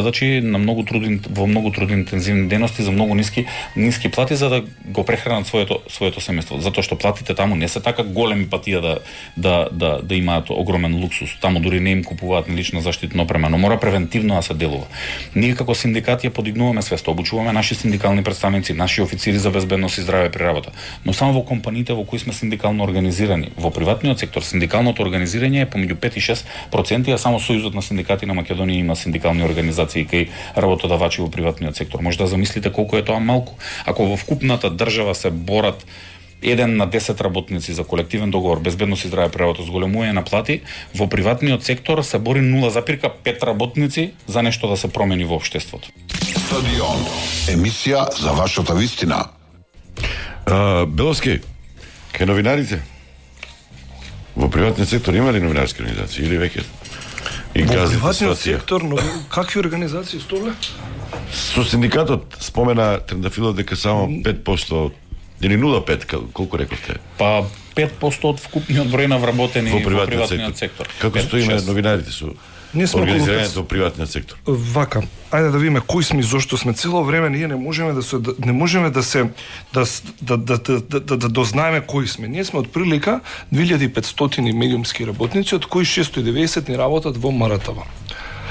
Значи на во многу трудоинтензивни дејности за многу ниски плати за да го прехранат своето семејство, затоа што платите таму не се така големи патија да имаат огромен луксус. Таму дури не им купуваат ни лична заштитна опрема, но мора превентивно да се делува. Ние како синдикати ја подигнуваме свеста, обучуваме наши синдикални представници, наши официри за безбедност и здраве при работа, но само во компаниите во кои сме синдикално организирани. Во приватниот сектор синдикалното организирање е помеѓу 5 и 6%, а само Сојузот на синдикати на Македонија има синдикални организации и кај работодавачи во приватниот сектор. Може да замислите колку е тоа малку. Ако во вкупната држава се борат 1 на 10 работници за колективен договор, безбедност и здраве при работа, зголемување на плати, во приватниот сектор се бори 0,5 работници за нешто да се промени во општеството. Стадион. Емисија за вашата вистина. Беловски, кај новинарите во приватниот сектор има ли новинарски организации или веќе и во газните приватниот ситуација? сектор, но какви организации столе? Со синдикатот спомена Трендафилов дека само 5% или 0,5, колку рековте? Па 5% од вкупниот број на вработени во приватниот сектор. Како стоиме новинарите со организирањето во приватниот сектор? Вака, ајде да видиме кои сме и зошто сме. Цело време ние не можеме да дознаеме кои сме. Ние сме од прилика 2500 медиумски работници, од кои 690 ни работат во МРТВ.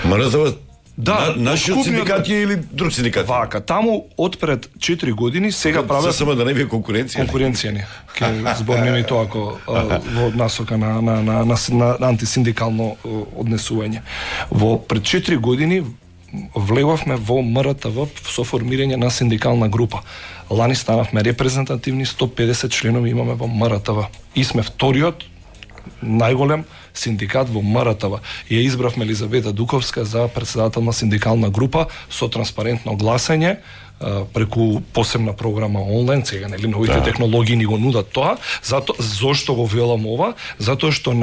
МРТВ? Да, нашиот синдикат или друг синдикат? Вака, таму од пред 4 години сега прават само да не би конкуренција. Конкуренција не. Ке зборнеме и тоа ако во насока на антисиндикално однесување. Во пред 4 години влеговме во МРТВ со формирање на синдикална група. Лани станавме репрезентативни, 150 членови имаме во МРТВ. И сме вториот најголем синдикат во МРТВ. Ја избравме Елизавета Дуковска за председател на синдикална група со транспарентно гласање преку посебна програма онлайн, сега нели новите технологии ни го нудат тоа, зошто го велам ова? Затоа што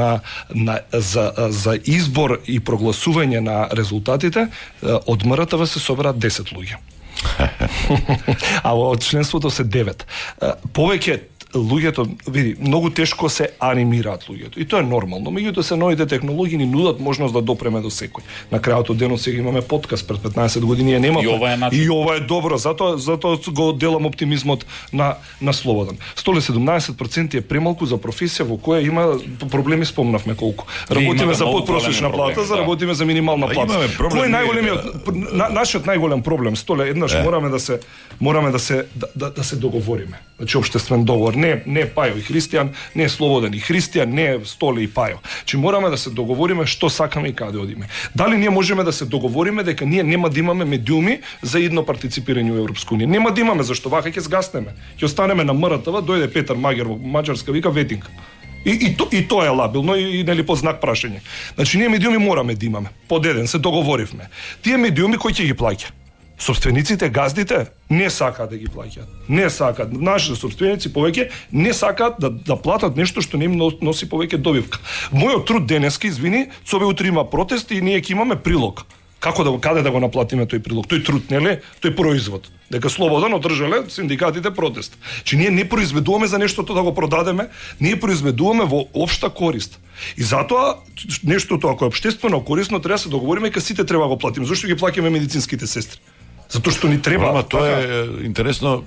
за избор и прогласување на резултатите од МРТВ се собраат 10 луѓе. А од членството се 9. Повеќе луѓето, види, многу тешко се анимираат луѓето. И тоа е нормално. Меѓутоа се новите технологии ни нудат можност да допреме до секој. На крајот од денот сега имаме подкаст, пред 15 години ја немавме. И ова е добро, затоа го делам оптимизмот на Слободан. 117% е премалку за професија во која има проблеми, спомнавме колку. Работиме за подпросечна плата, работиме за минимална плата. Кој е најголемиот нашиот најголем проблем? Столе еднаш мораме да се договориме. Значи општествен договор, не Пајо и Христијан, не Слободан и Христијан, не Столе и Пајо. Че мораме да се договориме што сакаме и каде одиме. Дали ние можеме да се договориме дека ние нема да имаме медиуми за едно партиципирање во Европска унија? Нема да имаме, зашто вака ќе згаснеме. Ќе останеме на МРТВ, дојде Петар Магер во Маđарска, вика ветинг. И тоа е лабилно и нели под знак прашање. Значи ние медиуми мораме да имаме. Под еден се договоривме. Тие медиуми кој ќе ги плаќа? Собствениците, газдите не сакаат да ги плаќаат. Не сакаат. Нашите собственици повеќе не сакаат да платат нешто што не им носи повеќе добивка. Мојот труд денеска, извини, цове утре има протест и ние ќе имаме прилог. Каде да го наплатиме тој прилог? Тој труд, нели? Тој производ. Дека Слободан одржале синдикатите протест. Че ние не произведуваме за нештото да го продадеме, ние произведуваме во општа корист. И затоа нештото ако е општествено корисно треба да се договориме дека сите треба да го платиме. Зошто ги плаќаме медицинските сестри? Затоа што ни треба. Ама тоа е интересно.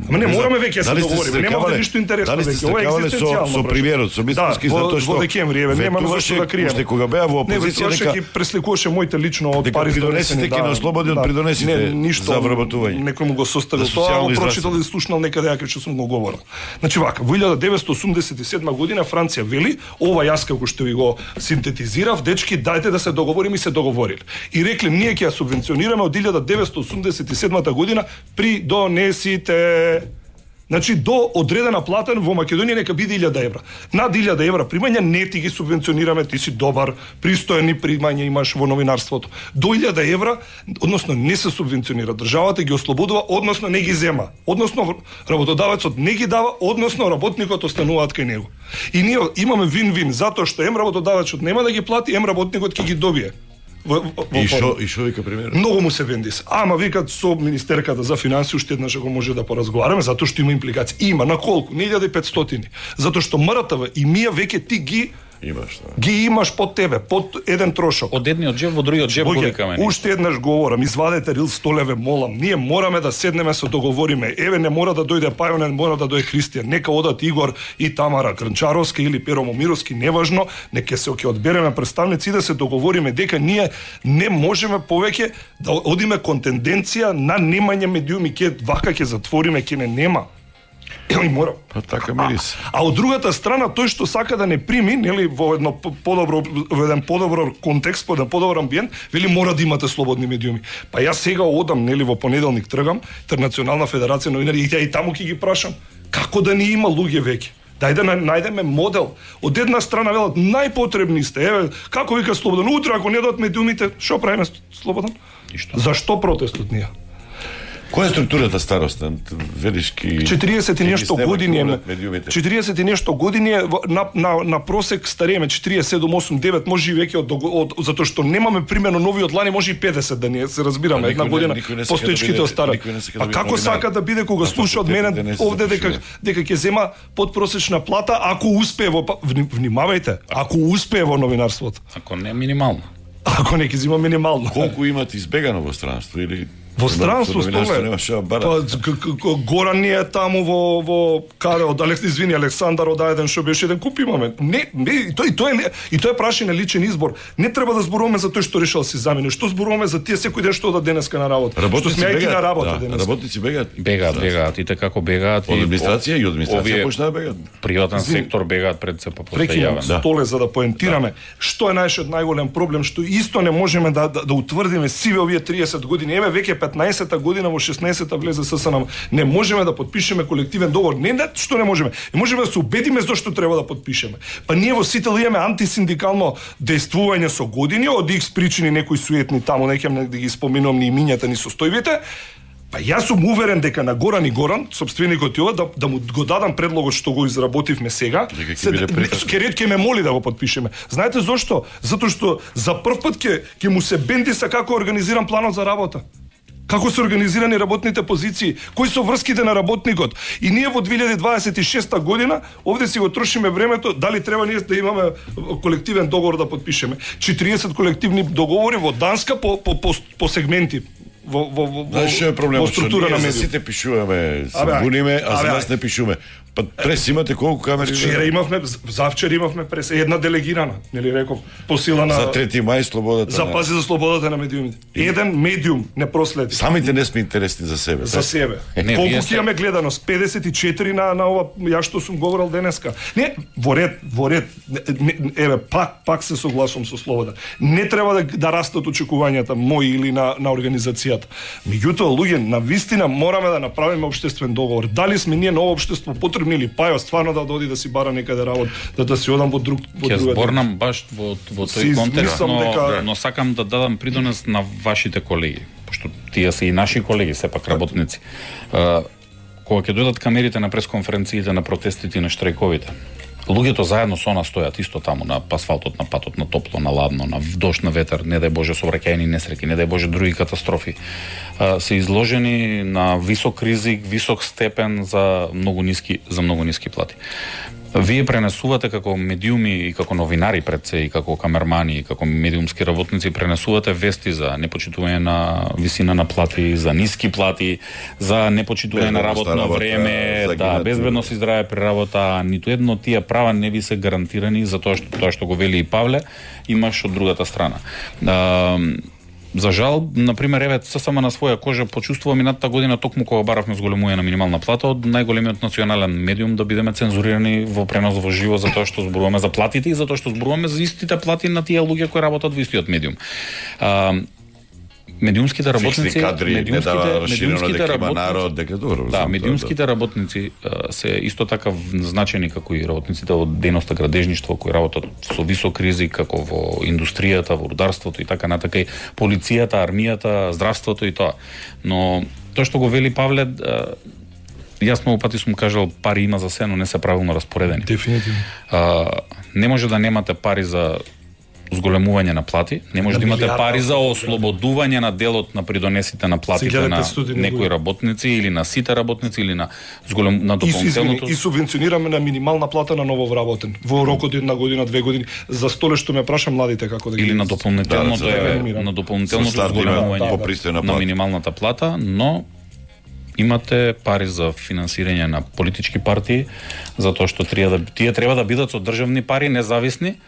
Ама не мораме веќе да се договориме. Нема да ништо интересно веќе. Ова е екзистенцијално. Со премиерот, со Мицкоски, затоа што во декември немаме зашто да криеме. Уште кога беа во опозиција дека ги пресликуваше моите лично од пари донесите ки на Слободен придонесите за вработување. Некој му го составил тоа, го прочитал и слушнал некаде дека што сум го говорил. Значи вака, во 1987 година Франција вели, ова јас како што ви го синтетизирав, дечки, дајте да се договориме и се договориле. И рекле ние ќе ја субвенционираме од 1987 година придонесите. Значи до одредена плата во Македонија нека биде 1000 евра. Над 1000 евра примања не ти ги субвенционираме, ти си добар, пристојни примања имаш во новинарството. До 1000 евра, односно не се субвенционира, државата ги ослободува, односно не ги зема. Односно работодавецот не ги дава, односно работникот остануваат кај него. И ние имаме вин-вин затоа што работодавецот нема да ги плати, работникот ќе ги добие. И шо вика премиерот? Многу му се вендис. Ама викат со министерката за финансии уште еднаш го може да поразговараме затоа што има импликации. Има на колку? 1500. Затоа што МРТВ и мија веќе ти ги Имаш, да. Ги имаш под тебе, под еден трошок. Од едниот джеб во другиот джеб го викаме. Уште еднаш говорам, извадете рил 100 леве, молам. Ние мораме да седнеме, се договориме. Еве, не мора да дојде Пајо, не мора да дојде Христијан. Нека одат Игор и Тамара Крнчаровски или Перо Момировски, неважно, нека се одбереме представници и да се договориме дека ние не можеме повеќе да одиме кон тенденција на немање медиуми, вака ќе затвориме, ќе не нема. Или мора. Па така мирис. А од другата страна тој што сака да не прими, нели, во едно во еден подобро контекст, во еден подобар амбиент, вели мора да имате слободни медиуми. Па јас сега одам, нели, во понеделник тргам, Интернационална федерација новинари и таму ќе ги прашам како да не има луѓе веќе. Дај да најдеме модел. Од една страна велат најпотребни сте. Еве, како вика слободен, утре ако не дадат медиумите, што правиме слободен? Зашто протестот ние? Која е структурата староста? Велишки 40 и нешто години е. 40 и нешто години е на просек старееме 47, 8, 9, може и веќе од затоа што немаме примерно нови од лани, може и 50 да не се разбираме една година постоечките остарат. А како сака да биде кога слуша од мене овде дека ќе зема подпросечна плата ако успее во внимавајте, ако успее во новинарството. Ако не минимално. Ако не ќе зема минимално. Колку имате избегано во странство или во странство столе. Горан ни е таму во каде од Александар од еден што беше еден куп имаме. Не, и тој прашање на личен избор. Не треба да зборуваме за тој што решил си замени. Што зборуваме за тие секој ден што одат денеска на работа. Што сме на работа денеска. Работници бегаат. Бегаат и така како бегаат од администрација и од администрација почнаа бегаат. Приватен сектор бегаат пред се после јавен. Столе за да поентираме што е најголем проблем што исто не можеме да утврдиме сиве овие 30 години. Еве веќе 15-та година во 16-та влезе ССН. Не можеме да потпишеме колективен договор. Не што не можеме. Не можеме да се убедиме зошто треба да потпишеме. Па ние во Сител имаме антисиндикално дејствување со години, од X причини некои суетни таму, не ќе да ги споминувам ни имињата ни состојбите. Па јас сум уверен дека на Горан и Горан, собственикот и ова, да му го дадам предлогот што го изработивме сега, ќе ме моли да го потпишеме. Знаете зошто? Затоа што за прв пат ќе му се бенди са како организиран планот за работа. Како се организирани работните позиции, кои се врските на работникот. И ние во 2026 година овде си го трошиме времето, дали треба ние да имаме колективен договор да потпишеме. 40 колективни договори во Данска по сегменти. Во структура на медиум. Сите пишуваме, се буниме, а за нас не пишуваме. Па прес имате колку камери? Вчера имавме, завчера имавме прес една делегирана, нели реков, по сила на за 3 мај слободата. Запази за слободата на медиумите. Еден медиум не проследи. Самите не сме интересни за себе. За себе. Колку ќе имаме гледаност? 54 на ова ја што сум говорил денеска. Не, во ред. Еве пак се согласувам со Слобода. Не треба да растат очекувањата мои или на организацијата. Меѓутоа луѓе, на вистина мораме да направиме општествен договор. Дали сме ние на ова општество потребни или Пајо стварно да оди да си бара некаде работа, да си одам во друг Ќе зборнам баш во тој контекст, но сакам да дадам придонес на вашите колеги, пошто тие се и наши колеги, сепак работници. Кога ќе дојдат камерите на пресконференциите, на протестите и на штрајковите, луѓето заедно со нас стојат исто таму на асфалтот, на патот, на топло, на ладно, на дожд, на ветер, не дај Боже сообраќајни несреќи, не дај Боже други катастрофи. Се изложени на висок ризик, висок степен за многу ниски плати. Вие пренесувате како медиуми и како новинари пред се и како камермани и како медиумски работници пренесувате вести за непочитување на висина на плати, за ниски плати, за непочитување на работно време, безбедност и здраве при работа. Ниту едно од тие права не ви се гарантирани за тоа што го вели и Павле, имаш од другата страна. За жал, например, еве ССМ на своја кожа почувствува минатата година токму кога баравме зголемување на минимална плата од најголемиот национален медиум да бидеме цензурирани во пренос во живо за тоа што зборуваме за платите и за тоа што зборуваме за истите плати на тие луѓе кои работат во истиот медиум. Медиумските работници, медиумските работници се исто така значени како и работниците од дејноста градежништво кои работат со висок ризик како во индустријата, во рударството и така натака и полицијата, армијата, здравството и тоа. Но тоа што го вели Павле, јас многу пати сум кажал пари има за се, но не се правилно распоредени. Дефинитивно. Не може да немате пари за зголемување на плати, не може да имате пари за ослободување на делот на придонесите на платите на некои работници или на сите работници или на дополнителното. И субвенционираме на минимална плата на ново вработен во рок од 1 година, 2 години. За столе што ме праша младите како да ги или на дополнителното зголемување на минималната плата, но имате пари за финансирање на политички партии, затоа што тие треба да бидат со државни пари, независни,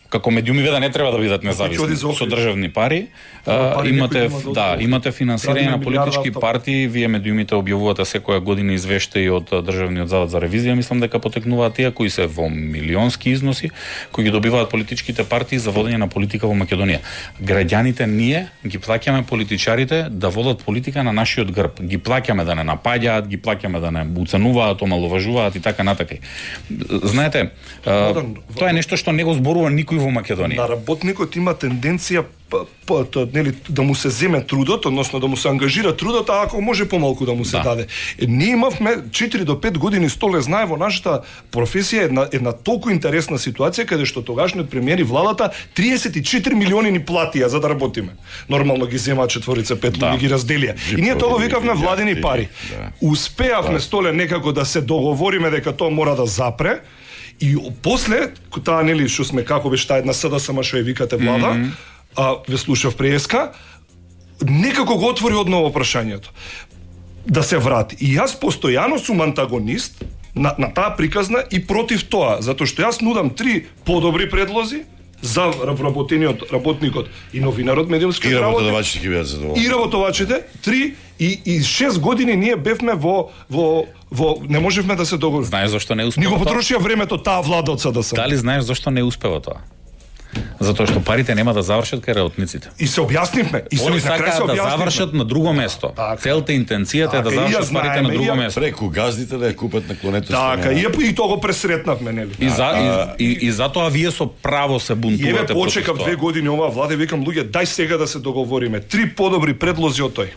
како медиуми да не треба да бидат независни, со државни пари. Имате финансирање на политички партии, вие медиумите објавувате секоја година извештаи од Државниот завод за ревизија, мислам дека потекнуваат тие кои се во милионски износи, кои ги добиваат политичките партии за водење на политика во Македонија. Граѓаните ние ги плаќаме политичарите да водат политика на нашиот грб. Ги плаќаме да не напаѓаат, ги плаќаме да не уценуваат, омаловажуваат и така натака. Знаете, тоа е нешто што не го зборува никој во Македонија. На работникот има тенденција да му се земе трудот, односно да му се ангажира трудот, а ако може помалку да му се даде. Ние имавме 4 до 5 години, Столе знае, во нашата професија една толку интересна ситуација каде што тогашниот премиер и владата 34 милиони ни платија за да работиме. Нормално ги земаат 4-5 луѓе ги разделија. И ние тоа викавме владени пари. Успеавме, Столе, некако да се договориме дека тоа мора да запре. И после таа што сме како беше таа една СДСМ што ја викате влада, ве слушав преска, некако го отвори одново прашањето. Да се врати. И јас постојано сум антагонист на таа приказна и против тоа, затоа што јас нудам 3 подобри предлози за вработениот работникот и новинарот медиумски работа. И работувачите 3 и 6 години ние бевме во не можевме да се договориме. Знаеш зашто не успева? Ни го потрошија времето таа влада од СДСМ. Дали знаеш зашто не успева тоа? Затоа што парите нема да завршат кај работниците. И се објаснивме. Они сакаат да завршат на друго место. Целта, интенцијата е да завршат парите на друго место. Преку газдите да ја купат на клонето. Така, и тоа го пресретнавме, нели? И затоа вие со право се бунтувате против тоа. Почекав 2 години оваа влада и викам, луѓе, дај сега да се договориме. 3 подобри предлози од тој.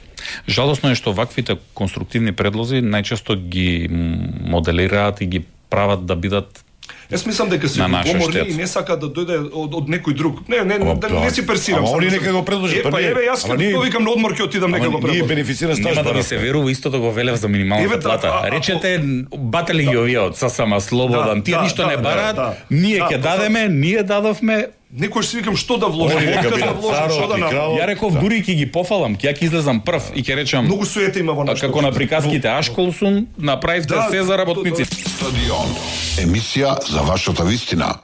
Жалосно е што ваквите конструктивни предлози најчесто ги моделираат и ги прават да бидат. Јас мислам дека се поморни и не сака да дојде од некој друг. Не си персирам. Ама они нека го предложат. Јас кога викам на одмор ќе отидам нека го предложат. Ние бенефицира стаж. Нема да ви се верува, истото го велев за минималната плата. Речете батали ги овие од ССМ Слободан. Тие ништо не бараат, ние ќе дадеме, ние дадовме. Некој си викам што да вложам, што да направам. Ја реков дури ќе ги пофалам, ќе излезам прв и ќе речам многу суета има во нашата. Како на приказките Ашколсун, направивте се за работниците. Стадион. Емисија за вашата вистина.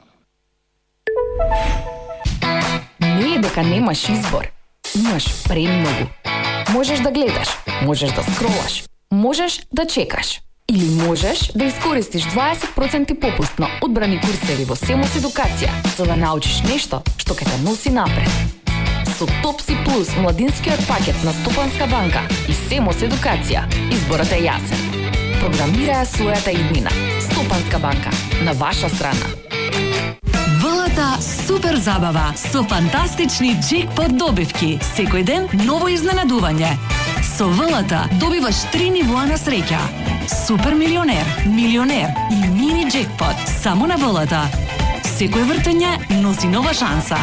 Не е дека немаш избор. Имаш премногу. Можеш да гледаш, можеш да скролаш, можеш да чекаш. Или можеш да искористиш 20% попуст на одбрани курсеви во Семос Едукација, за да научиш нешто што ќе те носи напред. Со Топси Плюс, младинскиот пакет на Стопанска банка и Семос Едукација, изборот е јасен. Програмирај својата иднина. Стопанска банка, на ваша страна. ВЛТ супер забава со фантастични джекпот добивки. Секој ден ново изненадување. Со ВЛТ добиваш 3 нивоа на среќа. Супер милионер, милионер и мини джекпот само на ВЛТ. Секој вртење носи нова шанса.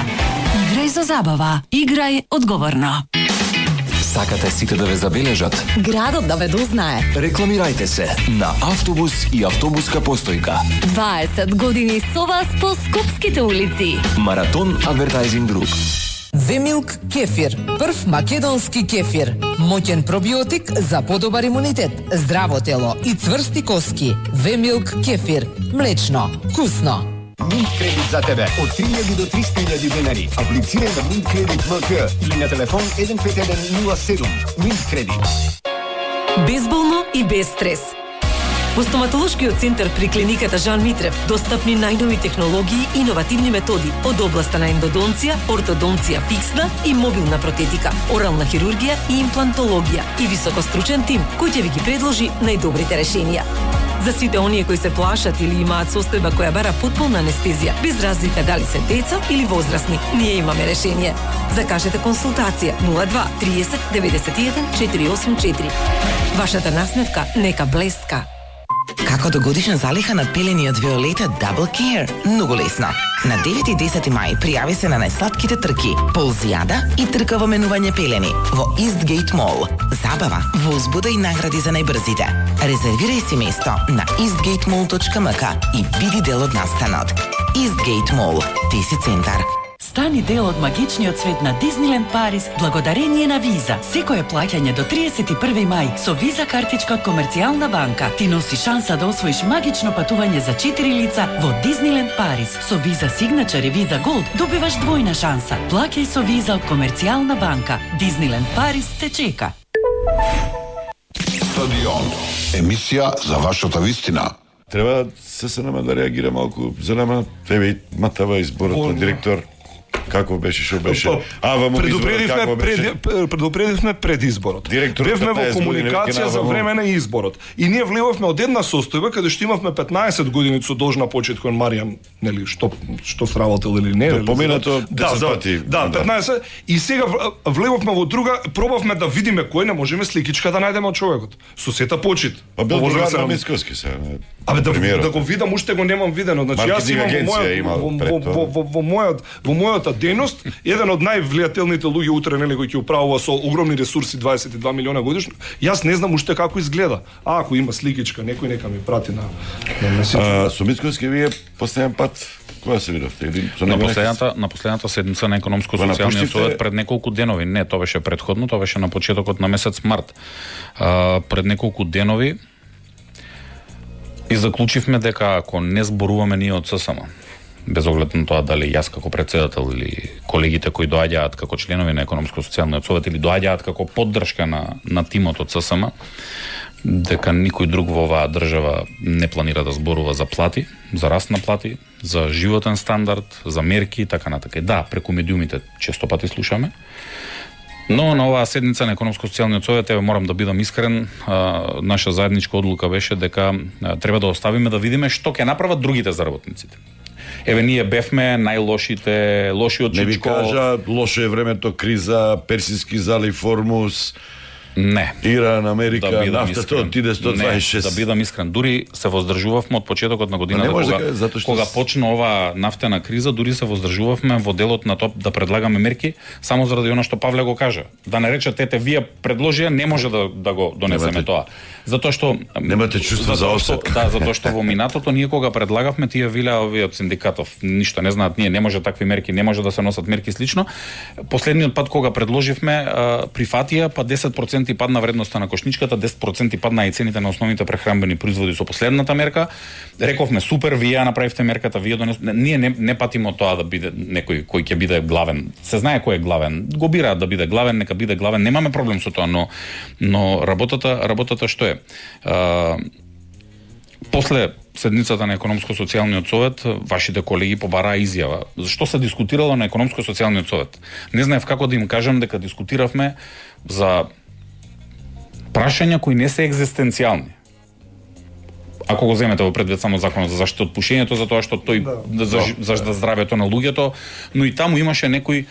Играј за забава. Играј одговорно. Сакате сите да ве забележат? Градот да ве дознае. Рекламирајте се на автобус и автобуска постојка. 20 години со вас по скопските улици. Маратон Адвертајзинг Груп. Вемилк кефир, прв македонски кефир. Моќен пробиотик за подобар имунитет, здраво тело и цврсти коски. Вемилк кефир, млечно, вкусно. Минт кредит за тебе од 3000 до 300.000 денари. Аплицирај на Минт кредит МК или на телефон 15107. Минт кредит. Безболно и без стрес. Во стоматолошкиот центар при клиниката Жан Митрев достапни најнови технологии и иновативни методи од областа на ендодонција, ортодонција фиксна и мобилна протетика, орална хирургија и имплантологија и високостручен тим кој ќе ви ги предложи најдобрите решенија. За сите оние кои се плашат или имаат состојба која бара потполна анестезија, без разлика дали се деца или возрастни, ние имаме решение. Закажете консултација 02 30 91 484. Вашата насмевка нека блеска. Како до годишна залиха над пелени од Виолета Double Care? Многу лесно. На 9 и 10 мај пријави се на најслатките трки, ползијада и трка во менување пелени во Eastgate Mall. Забава, возбуда и награди за најбрзите. Резервирај си место на eastgatemall.mk и биди дел од настанот. Eastgate Mall, Теси центар. Стани дел од магичниот свет на Дизниленд Париз благодарение на Виза. Секое плаќање до 31 мај со Виза картичка од Комерцијална банка ти носи шанса да освоиш магично патување за 4 лица во Дизниленд Париз. Со Виза Signature и Виза Gold добиваш двојна шанса. Плаќај со Виза од Комерцијална банка. Дизниленд Париз те чека. Стадион. Емисија за вашата вистина. Треба ССНМ да реагира малку за нама. Тебе матава изборот на директор. Како беше, што беше? Предупредивме пред изборот. Бевме во комуникација за време на изборот. И ние влевавме од една состојба каде што имавме 15 години со должна почит кон Маријан, нели, што сработил или не. Поминато 10 пати. Да, 15. И сега влевавме во друга, пробавме да видиме кој, не можеме сликичка да најдеме од човекот. Со сета почит. Па бил другар на Мицкоски се. Абе да го видам, уште го немам видено. Значи јас имам во мојата дејност, еден од највлијателните луѓе утре, нели, кој ќе управува со огромни ресурси 22 милиона годишно. Јас не знам уште како изгледа. Ако има сликичка, некој нека ми прати на месењер. Со Мицкоски вие последен пат кога се видовте? На последната седница на економско-социјалниот совет пред неколку денови. Не, тоа беше претходно, тоа беше на почетокот на месец март. Пред неколку денови и заклучивме дека ако не зборуваме ние од ССМ, без оглед на тоа дали јас како председател или колегите кои доаѓаат како членови на економско-социјалниот совет или доаѓаат како поддршка на тимот од ССМ, дека никој друг во оваа држава не планира да зборува за плати, за раст на плати, за животен стандард, за мерки и така натака. Да, преку медиумите често пати слушаме, но на оваа седница на економско-социјалниот совет, морам да бидам искрен, наша заедничка одлука беше дека треба да оставиме да видиме што ќе направат другите за работниците. Ние бевме најлошите, лошиот Чичко. Не ви кажа, лошо е времето, криза, Персиски залив, Формуз. Не. Иран, Америка, нафтата отиде 126. Не, да бидам искрен. Дури се воздржувавме од почетокот на годината, кога почна оваа нафтена криза, дури се воздржувавме во делот на тоа да предлагаме мерки, само заради она што Павле го кажа. Да не рече, вие предложија, не може да го донесеме тоа. Затоа што немате чувство за осетка. Да, затоа што во минатото ние кога предлагавме, тие вилеа овие од синдикатов, ништо не знаат, ние не може такви мерки, не може да се носат мерки слично. Последниот пат кога предложивме, прифатија, па 10% падна вредноста на кошничката, 10% падна и цените на основните прехранбени производи со последната мерка. Рековме супер, вие направивте мерката, вие ние не патимо тоа да биде некој кој ќе биде главен. Се знае кој е главен. Го бираат да биде главен, нека биде главен. Немаме проблем со тоа, но работата што е? После седницата на економско-социјалниот совет, вашите колеги побараа изјава. Зашто се дискутирало на економско-социјалниот совет? Не знаев како да им кажам дека дискутиравме за прашања кои не се екзистенцијални. Ако го земете во предвид само законот за заштита од пушењето, затоа што тој за здравјето на луѓето, но и таму имаше некои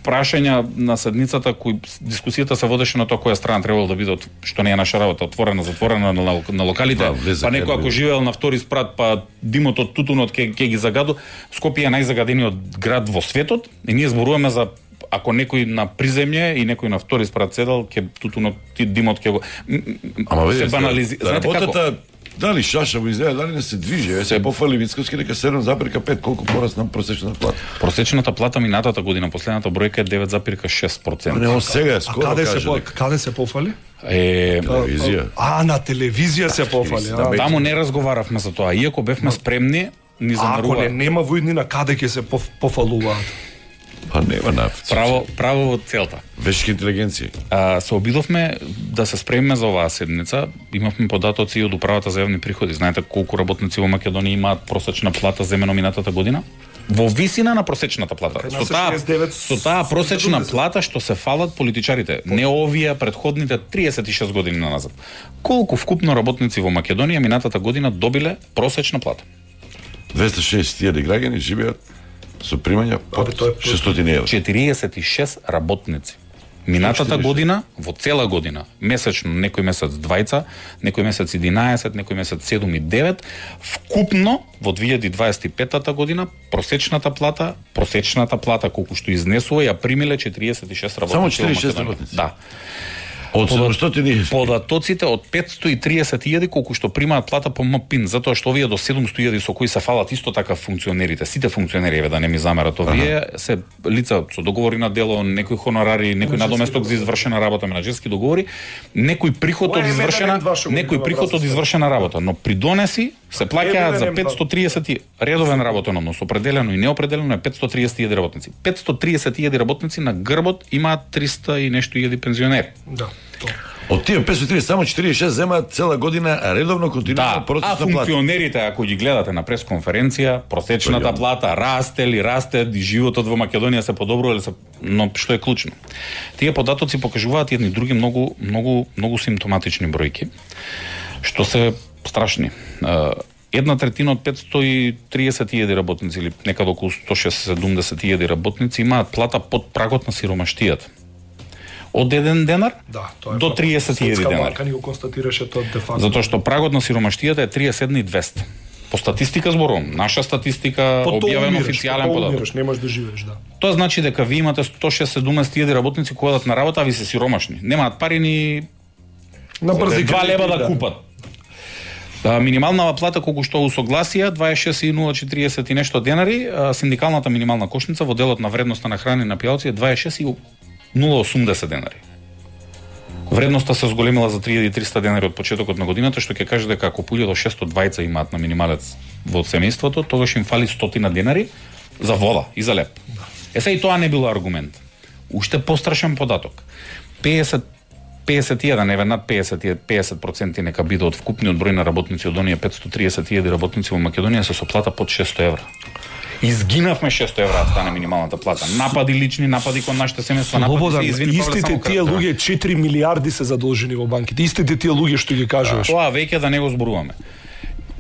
прашања на седницата кои дискусијата се водеше на тоа која страна требало да биде, што не е наша работа, отворена, затворена на локалите. Па некој ако живеел на втори спрат, па димот од тутунот ќе ги загаду. Скопје е најзагадениот град во светот и ние зборуваме за ако некој на приземје и некој на втори спрат седал, ќе тутунот димот ќе го се банализира. Работата дали шаша во изгледа, дали не се движи, се пофали Мицкоски дека 7,5 колку порасна просечната плата. Просечната плата минатата година, последната бројка е 9,6%. Не, сега скоро каде се пофали? Телевизија. На телевизија се пофали. Таму не разговаравме за тоа, иако бевме спремни, ни занарува. Ако нема војнина, каде ќе се пофалуваат? Па нема нафт. Право во целта. Вешка интелигенција. Се обидовме да се спремиме за оваа седница. Имавме податоци од управата за јавни приходи. Знаете колку работници во Македонија имаат просечна плата земено минатата година? Во висина на просечната плата. Со таа просечна плата што се фалат политичарите, не овие претходните 36 години назад. Колку вкупно работници во Македонија минатата година добиле просечна плата? 260.000 граѓани живеат со примања под 600 евра. 46 работници. Минатата година, во цела година, месечно, некој месец 20, некој месец 11, некој месец 7 и 9, вкупно во 2025 година просечната плата колку што изнесува ја примиле 46 работници. Само 46 работници. Да. Од 700 податоците од 530.000 колку што примаат плата по МПИН, затоа што овие до 700.000 со кои се фалат исто така функционерите, сите функционери, да не ми замерат овие, се лица со договори на дело, некои хонорари, некој надоместок за извршена работа, менаџерски договори, некој приход од извршена работа, но при донеси се плаќаат за 530 редовен работен однос, определено и неопределено е 530.000 работници. 530.000 работници на грбот имаат 300 и нешто илјади пензионери. Да. Од тие 530 само 46 земаат цела година редовно континуирано процесна плата. А функционерите, ако ги гледате на пресконференција, просечната плата расте ли, животот во Македонија се подобрува, но што е клучно? Тие податоци покажуваат едни други многу симптоматични бројки, што се страшни. 1/3 од 530.000 работници или некаде околу 170.000 работници имаат плата под прагот на сиромаштијата. Од 1 денар до 30.000 денар. Банка ни го констатираше тоа де факто. Затоа што прагот на сиромаштијата е 37.200. По статистика зборувам, наша статистика, објавен официјален податок. Не можеш да живееш, да. Тоа значи дека ви имате 170.000 работници кои одат на работа, а ви се сиромашни. Немаат пари ни на брзи 2 лева да купат. Минималната плата колку што усогласија 26.040 и нешто денари, синдикалната минимална кошница во делот на вредноста на храна и на пијалци е 26.080 денари. Вредноста се зголемила за 3.300 денари од почетокот на годината, што ќе каже дека ако 1.620 имаат на минималец во семејството, тогаш им фали 100 денари за вода и за леп. Сега и тоа не било аргумент. Уште пострашен податок. 51, еве над 50% нека биде од вкупниот број на работници од оние 530.000 работници во Македонија се со плата под 600 евра. Изгинавме 600 евра да стане минималната плата. Напади лични, напади кон нашите семејства, напади се, истите тие луѓе 4 милиарди се задолжени во банките. Истите тие луѓе што ги кажуваш. Тоа веќе да не го зборуваме.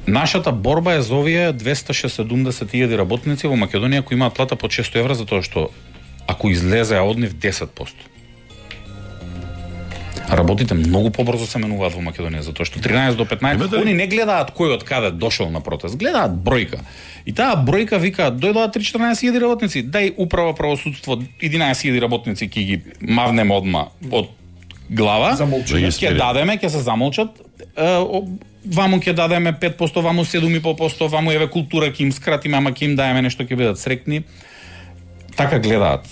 Нашата борба е за овие 270.000 работници во Македонија кои имаат плата под 600 евра затоа што ако излезеа од нив 10%. Работите многу побрзо се менуваат во Македонија затоа што 13 до 15 они не гледаат кој од каде дошол на протест, гледаат бројка. И таа бројка вика дојдоа 3-14.000 работници, дај управа правосудство 11.000 работници ќе ги мавнеме одма од глава, ќе дадеме, ќе се замолчат, ваму ќе дадеме 5%, ваму 7,5%, ваму еве култура ќе им скратиме, ама ќе им даеме нешто, ќе бидат срекни. Така гледаат.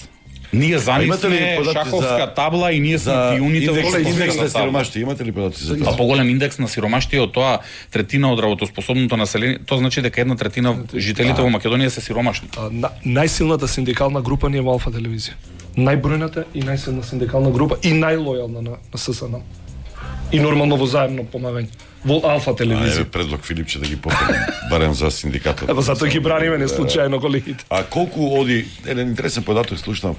Ние за нив сме шаховска табла и ние сме пионите во индекс на сиромаштие. Имате ли податоци за тоа? Поголем индекс на сиромаштие од тоа третина од работоспособното население, тоа значи дека 1/3 жителите во Македонија се сиромашни. Најсилната синдикална група ни е во Алфа телевизија. Најбројната и најсилна синдикална група и најлојална на ССН. И нормално во заемно помагање. Во Алфа телевизија. Еве предлог Филипче да ги попрем барем за синдикатот. Ево затоа ги браниме не случајно колегите. А колку оди еден интересен податок слушнав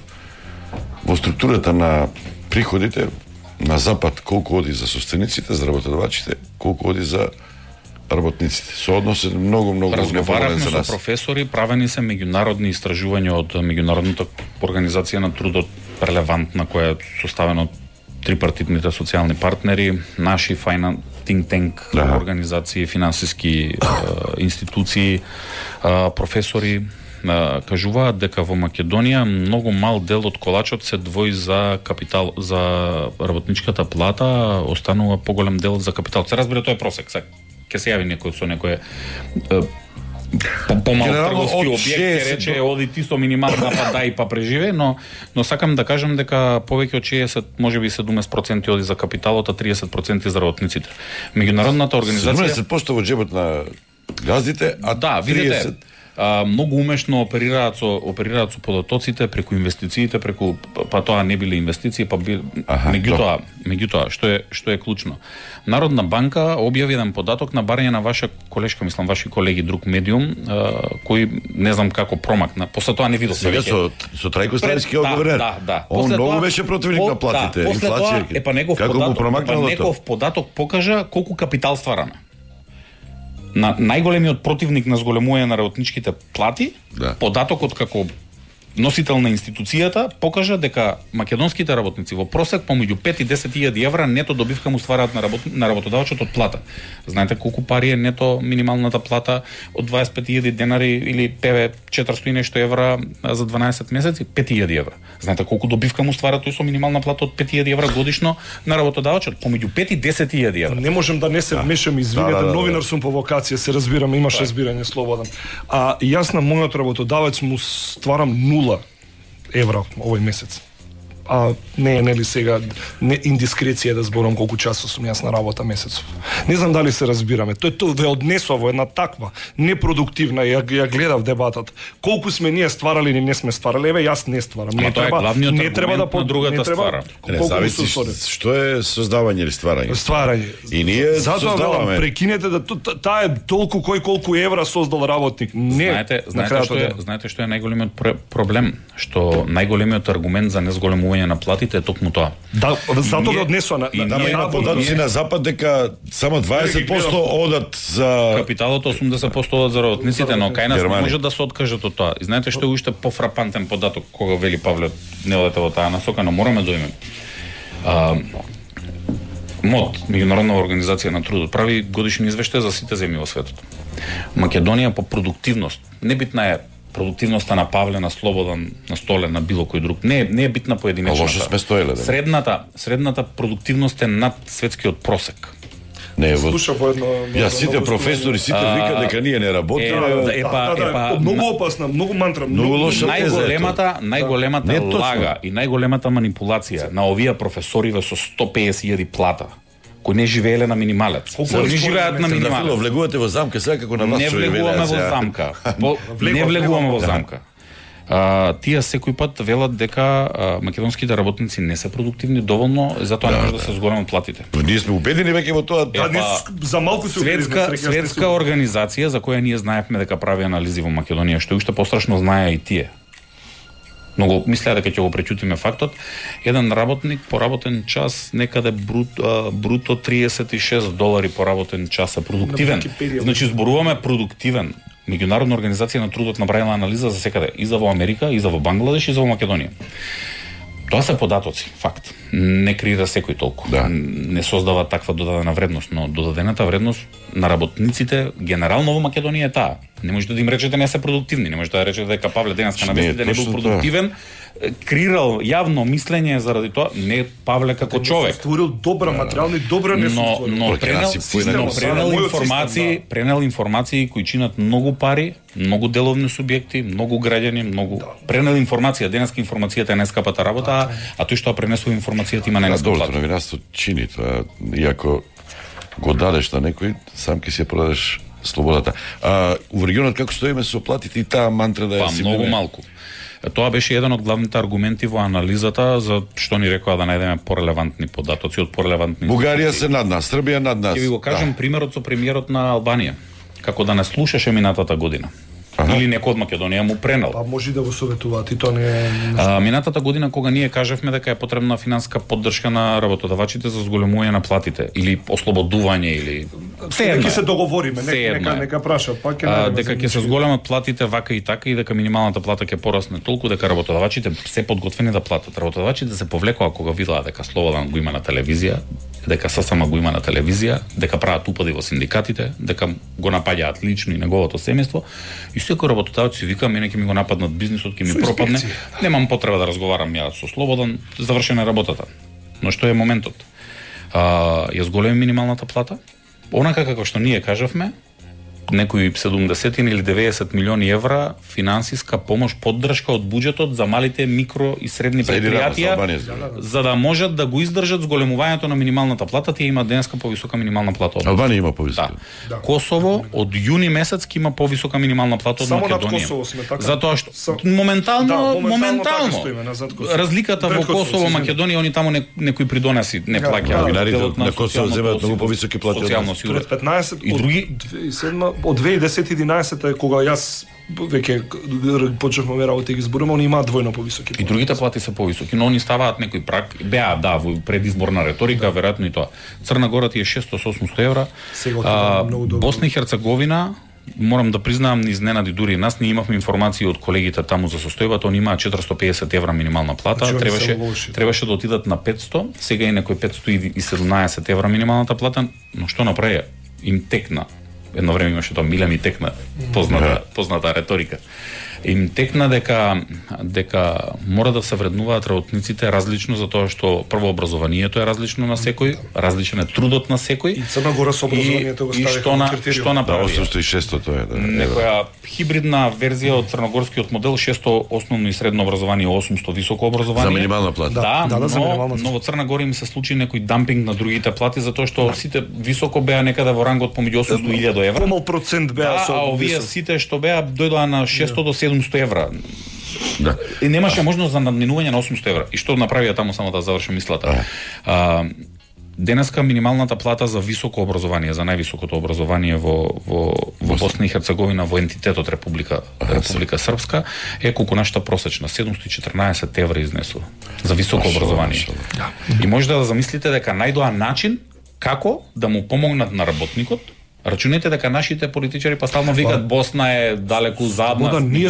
во структурата на приходите на запад, колку оди за собствениците, за работодавачите, колку оди за работниците. Сооднос е многу разговаравме со професори, правени се меѓународни истражувања од меѓународната организација на трудот релевантна која е составена од трипартитните социјални партнери, наши think tank организации, финансиски институции, професори кажуваат дека во Македонија многу мал дел од колачот се двои за капитал, за работничката плата, останува поголем дел за капитал. Се разбира, тоа е просек. Ќе се јави некој со некој помал трговски објект, рече оди ти со минимална па дај па преживе, но сакам да кажам дека повеќе од 60, можеби 70% оди за капиталот, а 30% за работниците. Меѓународната организација 70% во джебот на газдите, а да, видите, многу умешно оперираат со податоците преку инвестициите, преку па тоа не биле инвестиции, па меѓутоа што е клучно. Народна банка објави еден податок на барање на ваша колешка, мислам ваши колеги друг медиум, кој не знам како промакна. После тоа не видов сега со Трајко Ставицки гувернер. Да. Он многу беше противник на платите, инфлација. Како му промакнало тоа? Неков податок покажа колку капитал ствараме. На најголемиот противник на зголемување на работничките плати, податокот како носител на институцијата покажа дека македонските работници во просек помеѓу 5 и 10.000 евра нето добивка му ствараат на работодавачот од плата. Знаете колку пари е нето минималната плата од 25.000 денари или 400 и нешто евра за 12 месеци? 5.000 евра. Знаете колку добивка му ствара тој со минимална плата од 5.000 евра годишно на работодавачот? Помеѓу 5 и 10.000 евра. Не можам да не се вмешам, извинете, новинар сум по вокација, се разбирам, имаш разбирање слободен. А јас на мојот работодавец му стварам 0 евра овој месец. А не е нели сега не индискреција да зборам колку часов сум јас на работа месецов. Не знам дали се разбираме. Тој ве однесува во една таква непродуктивна, ја гледав дебатот. Колку сме ние стварали или не сме стварали? Еве јас не стварам. Не треба да на другата ствара. Не зависи што е создавање или стварање. Стварање. И ние создаваме. Прекинете да таа е толку колку евра создал работник. Не. Знаете што е најголемиот проблем, што најголемиот аргумент за незголемување на платите е токму тоа. Да, затоа го однесува на има податоци на запад дека само 20% одат за капиталот, 80% одат за работниците, но кај нас не може да се откажат од тоа. И знаете што е уште пофрапантен податок кога вели Павле не одете во таа насока, но мораме да имаме. МОД, Меѓународна организација на трудот, прави годишни извештаи за сите земји во светот. Македонија по продуктивност, небитна е продуктивноста на Павле, на Слободан, на Столе, на било кој друг. Не е битна поединечната. Лошо сме стоеле. Средната продуктивност е над светскиот просек. Не е Ја сите професори сите викаат дека ние не работиме. Многу опасна, многу мантра, многу лоша теза. Најголемата лага и најголемата манипулација на овие професори со 150.000 плата, кои не живееле на минималец. Не живеат на минималец. Влегувате во замка сега како на вас што живееле. Не влегуваме во замка. Не влегуваме во замка. Тие секој пат велат дека македонските работници не се продуктивни доволно, затоа не може да се зголемат платите. Ние сме убедени веќе во тоа. За малку се светска организација за која ние знаевме дека прави анализи во Македонија, што уште пострашно знае и тие. Многу мислеа дека ќе го преќутиме фактот. Еден работник по работен час некаде бруто $36 по работен час е продуктивен. Значи зборуваме продуктивен. Меѓународна организација на трудот направила анализа за секаде, и за во Америка, и за во Бангладеш, и за во Македонија. Тоа се податоци, факт. Не креира секој толку. Да. Не создава таква додадена вредност, но додадената вредност на работниците генерално во Македонија е таа. Не можете да им речете не се продуктивни, не можете да речете дека Павле денеска на вестите не бил продуктивен, креирал јавно мислење заради тоа, не Павле како човек. Створил добра материјални, добра не но пренел информации кои чинат многу пари, многу деловни субјекти, многу граѓани, многу пренел информација, денеска информацијата е најскапата работа, а тој што пренесува информацијата има најскапа плата. Добро, новинарство чини тоа, иако го дадеш на некој, сам ќе си ја продадеш слободата. Во регионот како стоиме со платите и таа мантра да ја си многу малку. Тоа беше еден од главните аргументи во анализата за што ни рекоа да најдеме порелевантни податоци од порелевантни. Бугарија се над нас, Србија над нас. Ќе ви го кажам примерот со премиерот на Албанија, како да не слушаше минатата година. Или некој од Македонија му пренел. Па може да го советуваат и тоа не е. Минатата година кога ние кажавме дека е потребна финанска поддршка на работодавачите за зголемување на платите или ослободување или ќе се договориме, нека праша, па ќе дека ќе се зголемат платите вака и така и дека минималната плата ќе порасне толку дека работодавачите се подготвени да платат. Работодавачите се повлекоа кога видаа дека Слободан го има на телевизија, дека ССМ го има на телевизија, дека прават упади во синдикатите, дека го напаѓаат лично и неговото семејство. И секој работодавец си вика, мене ќе ми го нападнат бизнисот, ќе ми пропадне. Немам потреба да разговарам ја со Слободан, завршена работата. Но што е моментот? Ја зголеми минималната плата, онака како што ние кажавме, некои 70 или 90 милиони евра финансиска помош, поддршка од буџетот за малите микро и средни предпријатија, за да можат да го издржат зголемувањето на минималната плата. Тие има денеска повисока минимална плата од Албанија има повисока. Да. Косово од јуни месец ќе има повисока минимална плата од Македонија. Само над Косово сме така. Затоа што моментално разликата во Косово, Македонија, они таму некои придонеси не плаќаат. Новинарите на Косово земаат многу повисоки плати од нас. 15 и други од 2010-11 кога јас веќе почнавме работа и ги зборуваме, они имаат двојно повисоки плати. И другите плати се повисоки, но они ставаат некој праг, во предизборна реторика, веројатно и тоа. Црна Гора ти е 600-800 евра. Босна и Херцеговина морам да признаам, ни изненади дури нас. Ние имавме информации од колегите таму за состојбата, они имаат 450 евра минимална плата, требаше да отидат на 500, сега е некој 517 евра минималната плата, но што направија? Им текна. Едно време имаше тоа миле ми текна, позната реторика. Им текна дека мора да се вреднуваат работниците различно, затоа што прво образованието е различно на секој, различен е трудот на секој. И Црна Гора со образованието го ставиха во што направија? 800 тоа е, да. Некоја хибридна верзија од црногорскиот модел, 600 основно и средно образование, 800 високо образование. За минимална плата. Но во Црна Гора им се случи некој дампинг на другите плати, затоа што сите високо беа некаде во рангот помеѓу 800 и 1000 евра. Помал процент беа со. А овие сите што беа дојдоа на 600 до 700 евра. Да. И немаше можност за надминување на 800 евра. И што направија таму, само да завршам мислата. Денеска минималната плата за високо образование, за највисокото образование во Босна и Херцеговина, во ентитетот Република Српска, е колку нашата просечна, 714 евра изнесува за високо образование. И може да замислите дека најдоа начин како да му помогнат на работникот. Рачунете дека нашите политичари па стално викат Босна е далеку зад нас. Ние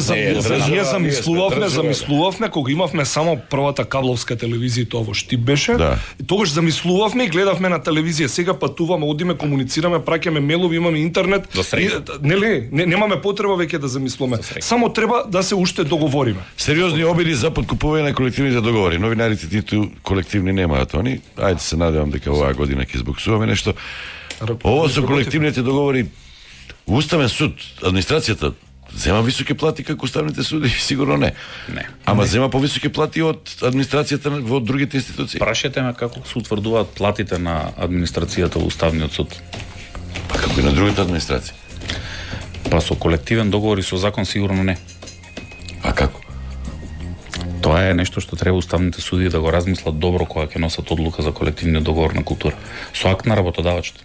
замислувавме кога имавме само првата кабловска телевизија, тоа во Штип беше. Да. И тогаш замислувавме и гледавме на телевизија. Сега патуваме, одиме, комуницираме, праќаме мелови, имаме интернет. Немаме потреба веќе да замислуваме. Само треба да се уште договориме. Сериозни обиди за подкупување на колективните договори. Новинарите ниту колективни немаат они. Ајде се надевам дека оваа година ќе избоксуваме нешто. Ово со колективните договори, Уставен суд, администрацијата зема високи плати како уставните суди, сигурно не. Ама зема повисоки плати од администрацијата во другите институции. Прашете ме како се утврдуваат платите на администрацијата во Уставниот суд. Па како и на другите администрации. Па со колективен договор и со закон сигурно не. А како? Тоа е нешто што треба уставните суди да го размислат добро кога ќе носат одлука за колективниот договор на култура. Со акт на работодавачот.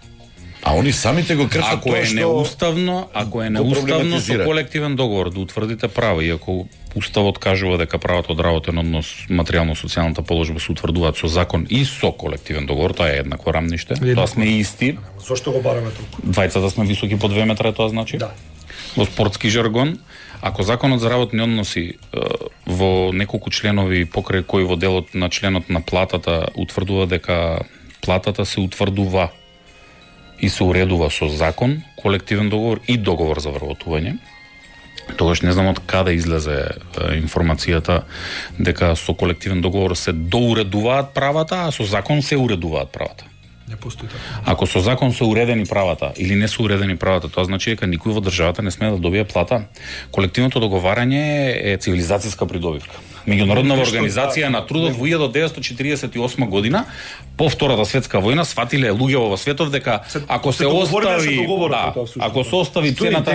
А они самите го кршат ако е неуставно со колективен договор да утврдите права, и ако Уставот кажува дека правата од работен однос, материјално-социјалната положба се утврдуваат со закон и со колективен договор, тоа е еднакво рамниште. Тоа сме исти. Зошто го бараме толку? Двајцата сме високи по 2 метра, тоа значи. Да. Во спортски жаргон, ако законот за работни односи во неколку членови покрај кои во делот на членот на платата утврдува дека платата се утврдува и се уредува со закон, колективен договор и договор за вработување, тогаш не знам од каде излезе информацијата дека со колективен договор се доуредуваат правата, а со закон се уредуваат правата. Не постои така. Ако со закон се уредени правата или не се уредени правата, тоа значи дека никој во државата не смее да добие плата. Колективното договарање е цивилизацијска придобивка. Меѓународна организација на трудот во 1948 година по Втората светска војна сфатиле луѓе во светов дека ако се остави ако се остави цената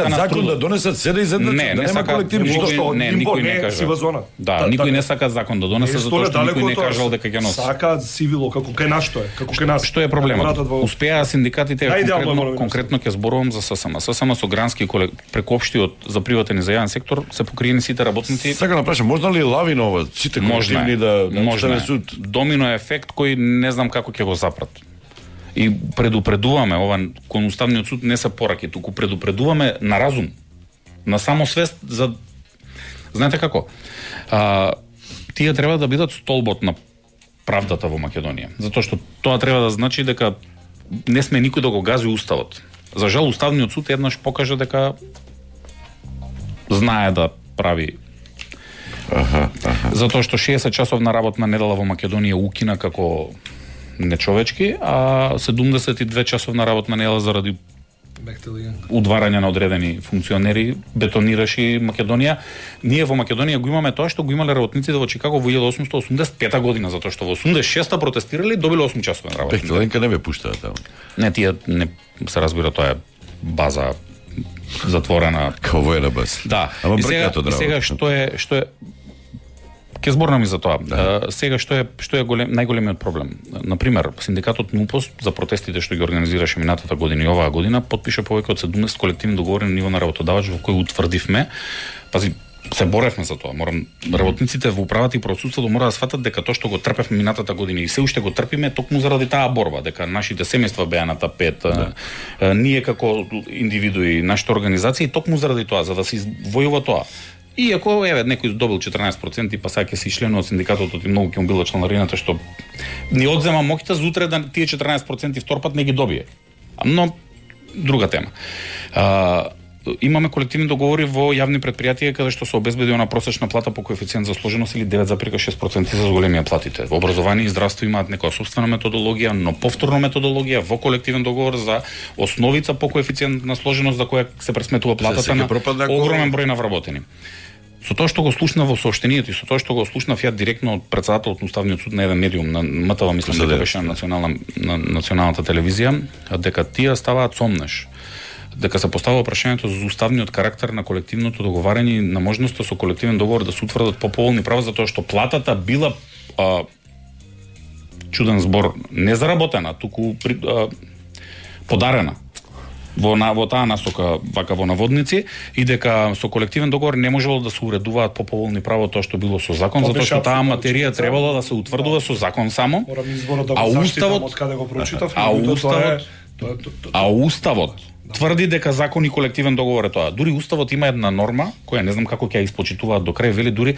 на закон да донесат се да изеднат да нема колективни што никој не кажа. Да, никој не сака закон да донесе затоа што никој не кажал дека ќе носи. Сака сивило како кај нас што е, како кај нас. Што е проблемот? Успеа синдикатите, конкретно ќе зборувам за ССМ. ССМ со грански преку општиот за приватен и за јавен сектор се покриени сите работници. Сакам да прашам, можно ли лавина ова сите колективни да Уставен суд? Домино ефект кој не знам како ќе го запрат. И предупредуваме, ова кон Уставниот суд не се пораки, туку предупредуваме на разум, на самосвест за знаете како? Тие треба да бидат столбот на правдата во Македонија, затоа што тоа треба да значи дека не сме никој да го гази уставот. За жал Уставниот суд еднаш покажа дека знае да прави. Затоа што 60 часовна работна недела во Македонија укина како нечовечки, а 72 часовна работна недела заради удварање на одредени функционери бетонираше Македонија. Ние во Македонија го имаме тоа што го имале работниците во Чикаго во 1885 година, затоа што во 86-та протестирале и добиле 8 часовен работен. Бехтеленка не бе пуштаа таму. Не, тие не се разбира, тоа е база затворена. Као воена база. Да. Ама и сега што е ќе зборнам и за тоа. Сега што е најголемиот проблем? Например, синдикатот НУПОС за протестите што ги организираше минатата година и оваа година потпиша повеќе од 70 колективни договори на ниво на работодавач во кои утврдивме, пази, се боревме за тоа. Работниците во управата и присуството мора да сватат дека тоа што го трпевме минатата година и се уште го трпиме токму заради таа борба, дека нашите семејства беа на тапет, ние како индивидуи, нашите организации токму заради тоа, за да се извојува тоа. И ако некој добил 14% па сега ќе се членува од синдикатот и многу ќе му била членарината што ни одзема моќта за утре да тие 14% вторпат не ги добие. Но друга тема. Имаме колективни договори во јавни претпријатија каде што се обезбеди она просечна плата по коефициент за сложеност или 9,6% за зголемија платите. Во образование и здравство имаат некоја собствена методологија, но повторна методологија во колективен договор за основица по коефициент на сложеност за која се пресметува платата на огромен број на вработени. Со тоа што го слушнав во соопштението и со тоа што го слушнав ја директно од председателот на Уставниот суд на еден медиум на МТВ, мислам дека беше на националната телевизија, дека тие ставаат сомнеш. Дека се поставува прашањето за уставниот карактер на колективното договарање и на можноста со колективен договор да се утврдат поповолни права затоа што платата била чуден збор, не заработена, туку подарена во таа насока, вака во наводници, и дека со колективен договор не можело да се уредуваат поповолни права тоа што било со закон, затоа што таа материја требало да се утврдува со закон само. А уставот тврди дека закон и колективен договор е тоа. Дури уставот има една норма која не знам како ќе ја испочитуваат до крај, вели дури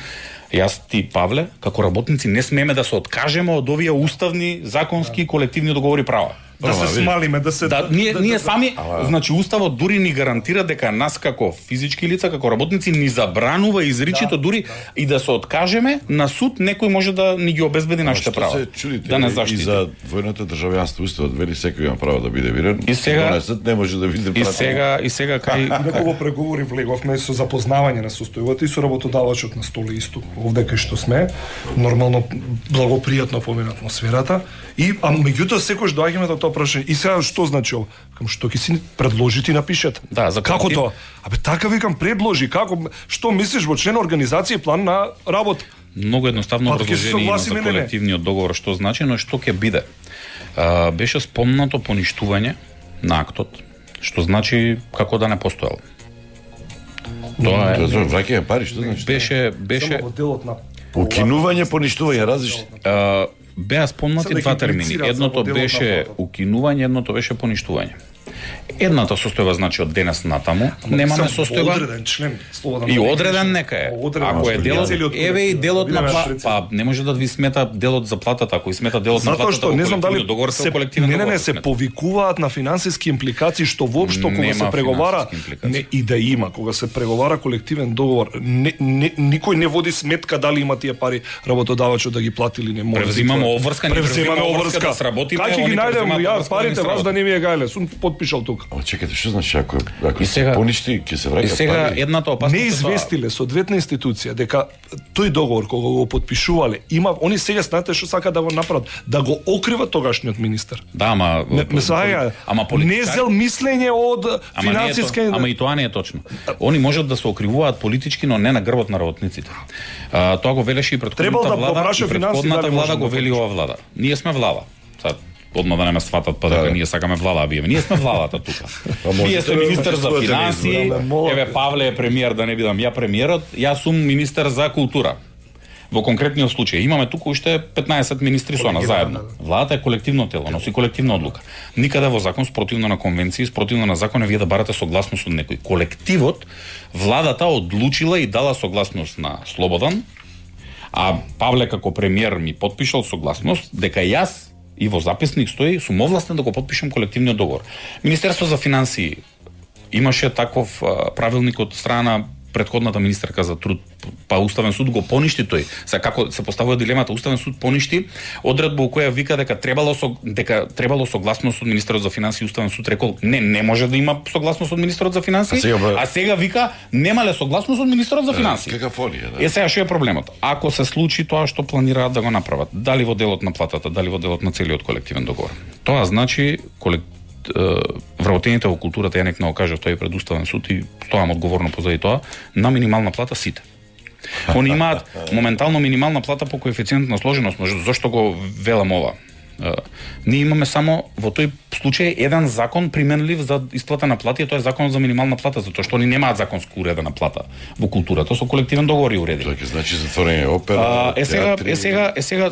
јас ти Павле како работници не смееме да се откажеме од овие уставни, законски колективни договори права. Да се смалиме, да се ние сами, значи уставот дури ни гарантира дека нас како физички лица, како работници ни забранува изричито дури и да се откажеме на суд, некој може да ни ги обезбеди нашите права. Да не заштити. И за двојното државјанство уставот вели секој има право да биде биран. И сега не може да биде право. И сега кај некого преговори влеговме со запознавање на состојбата и со работодавачот на стол исто. Овде кај што сме, нормално благопријатно помина атмосферата и меѓутоа секој доаѓаме до тоа прашање. И сега што значи ова? Кам што ќе си предложите и напишете. Да, за како тоа? Абе така викам предложи, како што мислиш во член организација план на работа? Многу едноставно образложение има за колективниот договор што значи, но што ќе биде. Беше спомнато поништување на актот, што значи како да не постоел. Тоа е враќање пари, што значи? Беше само во делот на укинување, поништување различни. Беа спомнати два термини. Едното беше укинување, едното беше поништување. Едната состојба значи од денес натаму немаме состојба. Одреден член, слободен. И одреден нека е. Ако е делот, еве и делот на па не може да ви смета делот за платата, ако и смета делот на платата. Затоа што не знам дали договор со колективен договор. Не се повикуваат на финансиски импликации што воопшто кога се преговара не и да има кога се преговара колективен договор, никој не води сметка дали има тие пари работодавачот да ги плати или не може. Превзимаме обврска да сработиме. Како ги најдем ја парите вас да не ми е гајле, сум подпишал тука. Ама чекате, што значи ако се поништи, ќе се враќа пари? И сега едната опасност не известиле соодветна институција дека тој договор кога го подпишувале, има они сега знаете што сака да го направат, да го окрива тогашниот министер. Да, ама не зел мислење од финансиска. Ама и тоа не е точно. Они можат да се окривуваат политички, но не на грбот на работниците. Тоа го велеше и претходната влада, и претходната влада го вели ова влада. Ние сме влада. Одма да не ме сватат па дека ние сакаме влада, а ние сме владата тука. Вие сте министер за финансии, еве Павле е премиер, да не бидам ја премиерот, јас сум министер за култура. Во конкретниот случај имаме тука уште 15 министри со нас заедно. Владата е колективно тело, носи колективна одлука. Никаде во закон спротивно на конвенции, спротивно на закон вие да барате согласност од некој. Колективот, владата одлучила и дала согласност на Слободан, а Павле како премиер ми подпишал согласност дека јас и во записник стои, сум овластен да го подпишам колективниот договор. Министерство за финансии имаше таков правилник од страна претходната министерка за труд, па Уставен суд го поништи тој. Сега како се поставува дилемата, Уставен суд поништи одредба која вика дека требало согласност од министерот за финансии, Уставен суд рекол не може да има согласност од министерот за финансии, а сега вика немале согласност од министерот за финансии. Какафонија, да. Сега што е проблемот? Ако се случи тоа што планираат да го направат, дали во делот на платата, дали во делот на целиот колективен договор, тоа значи вработените во културата, ја некно кажав тој пред Уставен суд и стоам одговорно позади тоа, на минимална плата сите. Они имаат моментално минимална плата по коефициент на сложеност, но зошто го велам ова? Ние имаме само во тој случај еден закон применлив за исплата на плати, тоа е законот за минимална плата, затоа што они немаат законско уредена плата во културата, со колективен договор и уредени. Тоа ќе значи затворање опера, театри. Сега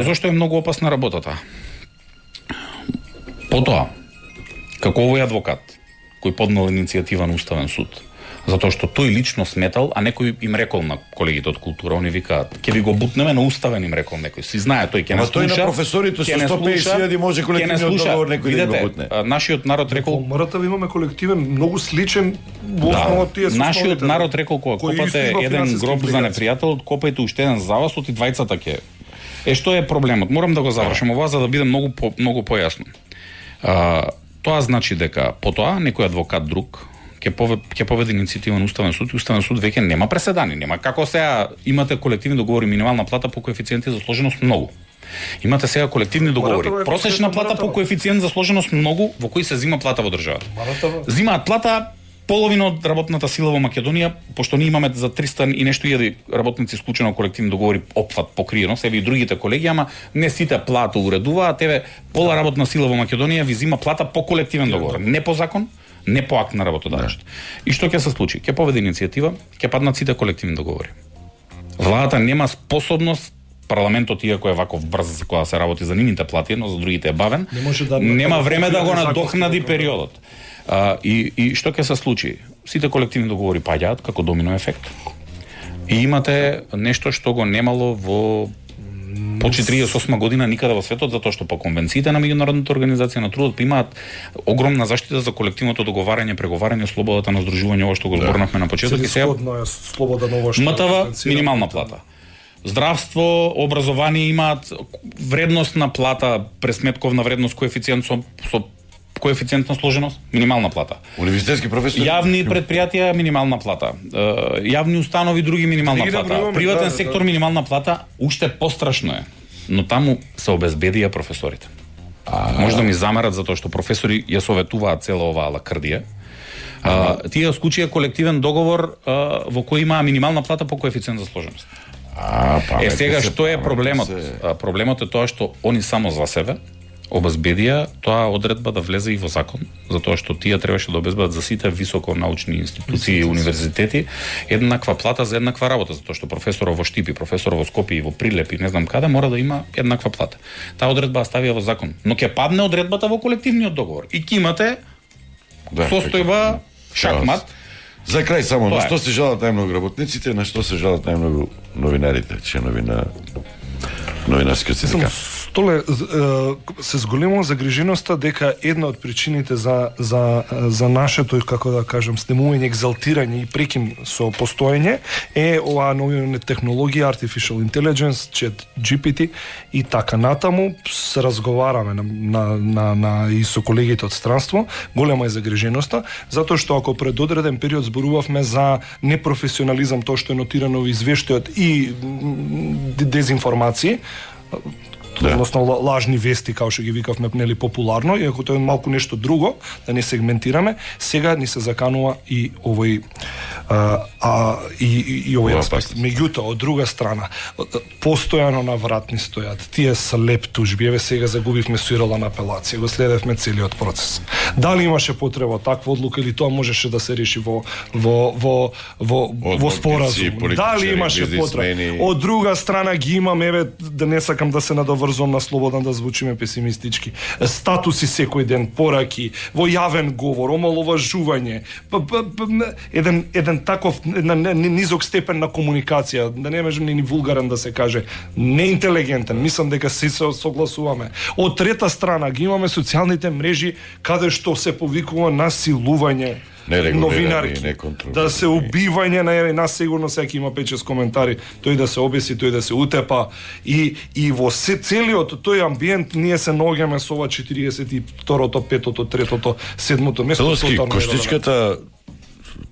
зошто е многу опасна работата? Потоа, како овој адвокат кој поднел иницијатива на Уставен суд, затоа што тој лично сметал, а некој им рекол на колегите од култура, они викаат, ќе ви го бутнеме на Уставен, им рекол некој. Си знае, тој ќе не слуша. Тој на професорите со 150.000 може колективниот договор некој да го бутне. Нашиот народ рекол, во МРТ имаме колективен многу сличен во основа тие со нашиот народ рекол кога копате еден гроб за непријател, копајте уште еден за вас, оти двајцата ќе. Што е проблемот? Морам да го завршам ова за да биде многу појасно. Тоа значи дека потоа некој адвокат друг ќе поведе иницијатива на Уставен суд и Уставен суд веќе нема преседани, нема како сега имате колективни договори минимална плата по коефициенти за сложеност многу. Имате сега колективни договори, просечна плата по коефициент за сложеност многу, во кои се зима плата во државата. Зимаат плата половина од работната сила во Македонија, пошто ние имаме за 300 и нешто илјади работници исклучено колективни договори опфат покриено, себе и другите колеги, ама не сите плата уредуваат, тебе пола работна сила во Македонија ви зима плата по колективен договор, не по закон, не по акт на работодавачот. И што ќе се случи? Ќе поведе иницијатива, ќе паднат сите колективни договори. Владата нема способност, парламентот иако е ваков брз кога се работи за нивните плати, но за другите е бавен, нема време да го надокнади периодот. И што ќе се случи? Сите колективни договори паѓаат како домино ефект. И имате нешто што го немало во по 48 година никаде во светот, затоа што по конвенциите на меѓународната организација на трудот имаат огромна заштита за колективното договарање, преговарање, слободата на здружување, ова што го зборнавме на почеток и сега МТВ минимална плата. Здравство, образование имаат вредност на плата, пресметковна вредност, коефициент со коефициент на сложеност, минимална плата. Универзитетски професори, јавни предпријатија минимална плата. Јавни установи други минимална плата. Приватен сектор минимална плата, уште пострашно е. Но таму се обезбедија професорите. Може да ми замерат затоа што професори ја советуваат цела оваа лакрдија. Тие склучија колективен договор во кој има минимална плата по коефициент за сложеност. Сега што е проблемот? Проблемот е тоа што они само за себе обезбедија тоа одредба да влезе и во закон, затоа што тие требаше да обезбедат за сите високонаучни институции и универзитети еднаква плата за еднаква работа, затоа што професорот во Штип и професорот во Скопје и во Прилеп и не знам каде мора да има еднаква плата. Таа одредба ставија во закон, но ќе падне одредбата во колективниот договор и ќе имате состојба шахмат. За крај само, на што се жалат најмногу работниците, на што се жалат најмногу новинарите, членови на новинарскиот синдикат? Толе се зголемува загриженоста дека една од причините за нашето, како да кажам, снемување, екзалтирање и прекин со постоење е оваа нови технологија, artificial intelligence, chat GPT и така натаму. Се разговараме на и со колегите од странство, голема е загриженоста, затоа што ако пред одреден период зборувавме за непрофесионализам, тоа што е нотирано во извештајот и дезинформации, односно лажни вести, како што ги викавме, нели популарно, иако тоа е малку нешто друго, да не сегментираме, сега ни се заканува и овој и овој аспект. Меѓутоа, од друга страна, постојано на вратни стојат тие слеп тужби. Еве сега загубивме суирала на апелација, го следевме целиот процес. Дали имаше потреба таква одлука или тоа можеше да се реши во споразум? Дали имаше потреба? Од друга страна ги имаме, еве да не сакам да се надоврзувам на слободно да звучиме песимистички. Статуси секој ден, пораки, во јавен говор, омаловажување, еден таков низок степен на комуникација, да не може ни вулгарен да се каже, неинтелигентен, мислам дека се согласуваме. Од трета страна ги имаме социјалните мрежи каде што се повикува насилување новинарки, да се убивање на нас сигурно секој има 5-6 коментари, тој да се обеси, тој да се утепа и во целиот тој амбиент ние се наоѓаме со ова 42-то, 5-то, 3-то, 7-то место. Коштичката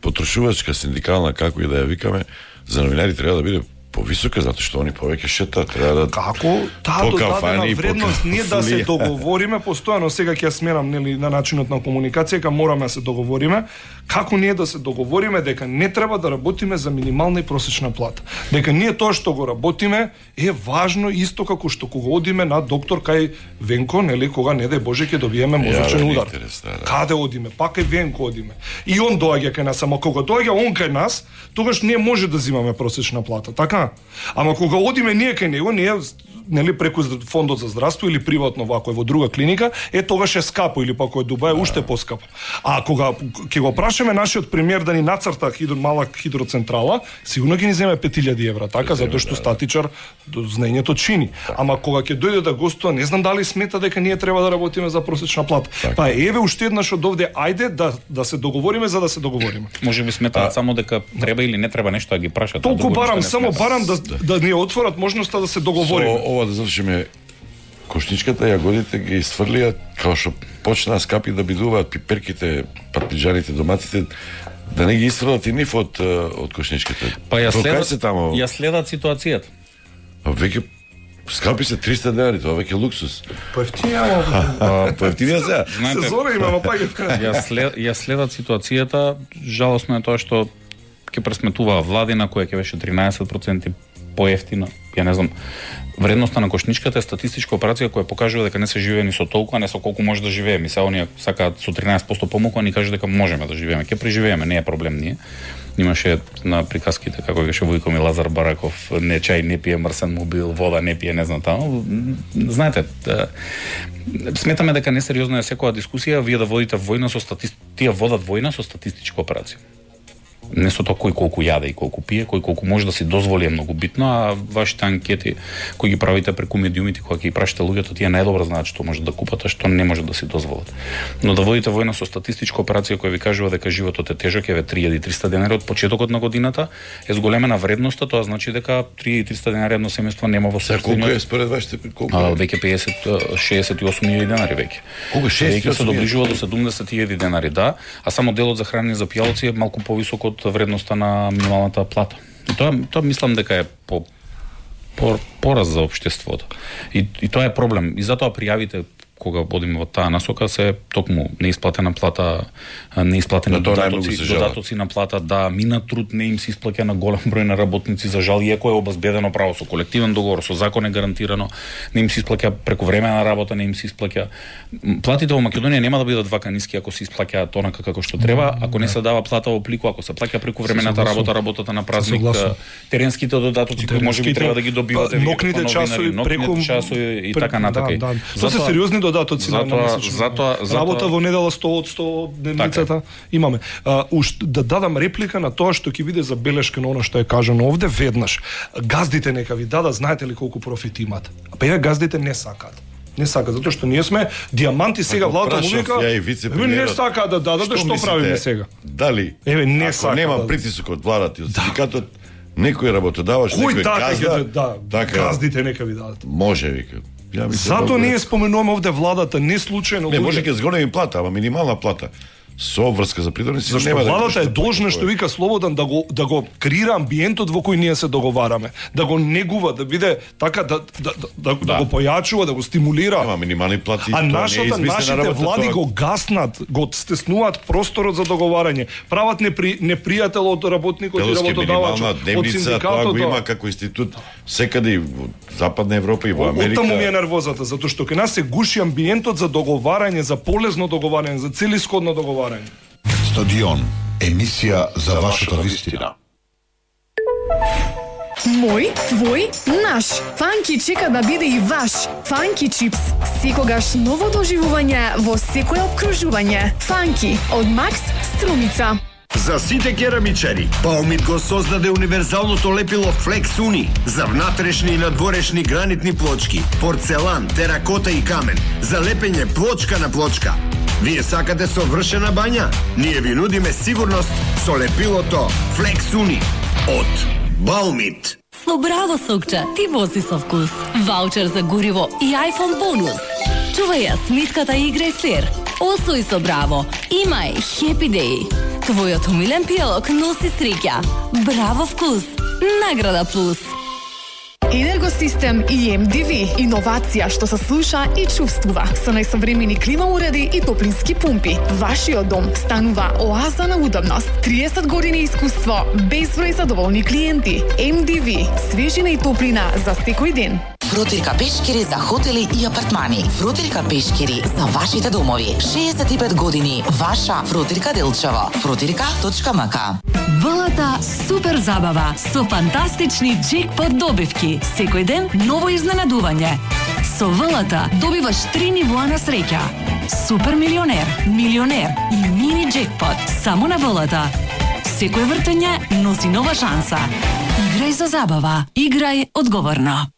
потрошувачка синдикална, како и да ја викаме, за новинари треба да биде повисока затоа што они повеќе шета, треба да како таа додадена вредност ние да се договориме постојано, сега ќе ја сменам нели на начинот на комуникација, дека мораме да се договориме, како ние да се договориме дека не треба да работиме за минимална и просечна плата. Дека ние тоа што го работиме е важно исто како што кога одиме на доктор кај Венко, нели кога не дај Боже ќе добиеме мозочен удар. Каде одиме? Пак кај Венко одиме. И он доаѓа кај нас, ама кога доаѓа он кај нас, тогаш ние може да земаме просечна плата, така? Ама кога одиме ние кај него, ние нели преку фондот за здравство или приватно вако е во друга клиника, тогаш е скапо или пак кој Дубај уште поскапо. А кога ќе го прашаме нашиот премиер да ни нацрта мала хидроцентрала, сигурно ќе ни земе 5000 евра, така, затоа што статичар знаењето чини. Ама кога ќе дојде да гостува, не знам дали смета дека ние треба да работиме за просечна плата. Па еве уште еднаш од овде, ајде да се договориме за да се договориме. Може би сметаат само дека треба или не треба нешто да ги прашат. Толку барам, само барам да ни отворат можноста да се договориме. Ова да завршиме кошничката, јагодите ги исфрлија, као што почнаа скапи да бидуваат пиперките, парпиџаните, доматите, да не ги исфрлат и нив од кошничката. Па ја следат ситуацијата. Веќе скапи се 300 денари, тоа веќе луксус. Поевтинија се. Сезона имаме пак. Ја следат ситуацијата, жалосно е тоа што ќе пресметуваа владина која ќе беше 13% поевтина. Ја не знам, вредноста на кошничката е статистичка операција која покажува дека не се живее ни со толку, а не со колку може да живееме. Сега оние сакаат со 13% помалку, а ни кажат дека можеме да живееме. Ќе преживееме, не е проблем ние. Имаше на приказките како беше Војко и Лазар Бараков, не чај не пие мрсен мобил, вода не пие, не знам таму. Знаете, сметаме дека несериозна е секоја дискусија, вие да водите војна со тие водат војна со статистичка операција. Не со тоа кој колку јаде и колку пие, кој колку може да си дозволи е многу битно, а вашите анкети кои ги правите преку медиумите, кога ќе ги прашате луѓето, тие најдобро знаат што може да купат, а што не може да си дозволат. Но да водите војна со статистичка операција која ви кажува дека животот е тежок, еве 3300 денари од почетокот на годината, е зголемена вредноста, тоа значи дека 3300 денари едно семејство нема во собствено. Колку е според вашите колку? Веќе 68.000 денари веќе. Колку 68.000? Се доближува до 70.000 денари, да, а само делот за хранење за пијалци е малку повисок од вредноста на минималната плата. И тоа мислам дека е пораз за општеството. И тоа е проблем. И затоа пријавите кога одиме во таа насока се токму неисплатена плата, неисплатени додатоци на плата, да, мина труд не им се исплаќа на голем број на работници, за жал, иако е обезбедено право со колективен договор, со закон е гарантирано, не им се исплаќа преку време на работа, не им се исплаќа. Платите во Македонија нема да бидат вака ниски ако се исплаќаат онака како што треба, ако не се дава плата во плику, ако се плаќа преку времената работа, работата на празник, теренските додатоци кои можеби треба да ги добивате нокните часови преку часови и така натака. Тоа се сериозни додатоци на работа во недела 100 од 100 дневницата имаме. Да дадам реплика на тоа што ќе биде забелешка на она што е кажано овде веднаш. Газдите нека ви дадат, знаете ли колку профит имат? Па еве газдите не сакаат. Не сака, затоа што ние сме диаманти сега владата му вика. Не сака да дадат, што правиме сега? Дали? Еве не сака. Нема притисок од владата и од синдикатот, некој работодавач, некој газда, газдите нека ви дадат. Може вика. Зато ние споменуваме овде владата, не случајно. Не, може ќе зголеми плата, ама минимална плата. Со врска за придорници нема да. Владата е должна, што вика Слободан, да го креира амбиентот во кој ние се договараме, да го негува, да биде така да го појачува, да го стимулира. Ама минимални плати. А нашите влади го гаснат, го стеснуваат просторот за договарање, прават непријател од работникот и работодавачот, од синдикатот. Тоа го има како институт секаде во Западна Европа и во Америка. Оттаму ми е нервозата, затоа што кај нас се гуши амбиентот за договарање, за полезно договарање, за целисходно договарање. Стадион, емисија за вашата вистина. Мој, твој, наш. Фанки чека да биде и ваш. Фанки чипс. Секогаш ново доживување во секое обкружување. Фанки од Макс Струмица. За сите керамичари, Баумит го создаде универзалното лепило Flex Uni за внатрешни и надворешни гранитни плочки, порцелан, теракота и камен, за лепење плочка на плочка. Вие сакате совршена бања? Ние ви нудиме сигурност со лепилото Flex Uni од Баумит. Со Браво сокче, ти вози со вкус. Ваучер за гориво и iPhone бонус. Чувај ја смитката и играј флер. Освој со Браво. Имај Happy Day. Твојот умилен пијалок носи среќа. Браво вкус. Награда плюс. Енергосистем EMDV, иновација што се слуша и чувствува со најсовремени клима уреди и топлински пумпи. Вашиот дом станува оаза на удобност. 30 години искуство, безброј задоволни клиенти. MDV, свежина и топлина за секој ден. Фрутирка пешкири за хотели и апартмани. Фрутирка пешкири за вашите домови. 65 години. Ваша Фрутирка Делчево. Фрутирка.мк. ВЛТ супер забава со фантастични джекпот добивки. Секој ден ново изненадување. Со ВЛТ добиваш 3 нивоа на среќа. Супер милионер, милионер и мини джекпот. Само на ВЛТ. Секој вртење носи нова шанса. Играј за забава. Играј одговорно.